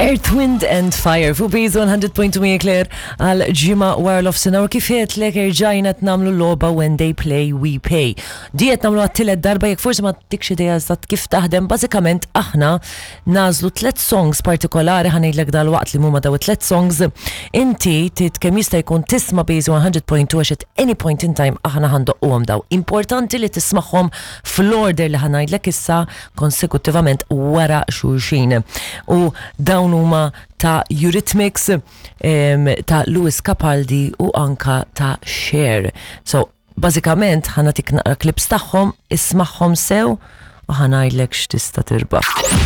Earth, Wind and Fire fuq Biz 100.2 Mia Claire għal ġimgħa wara l-offsinar u kif għedtlek erġajna qed nagħmlu logħba When They Play We Pay. Di qed nagħmlu għat-tielet darba jekk forsi ma tikx idea eżatt kif taħdem, bażikament aħna nagħżlu tliet songs partikolari ħa ngħidlek dalwaqt li huma daw it-tliet songs. Inti trid kemm jista' jkun tisma' Biz 100.2 għax at any point in time aħna ħa ndoqquhom daw. Importanti li tismagħhom fl-order li ħa ngħidlek issa konsekuttivament wara xulxin. U dawn huma ta' Eurythmics, ta' Lewis Capaldi u anka ta' Cher. So, bażikament ħa nagħtik naqra clips tagħhom, ismagħhom sew u ħa ngħidlek x'tista' tirbaħ.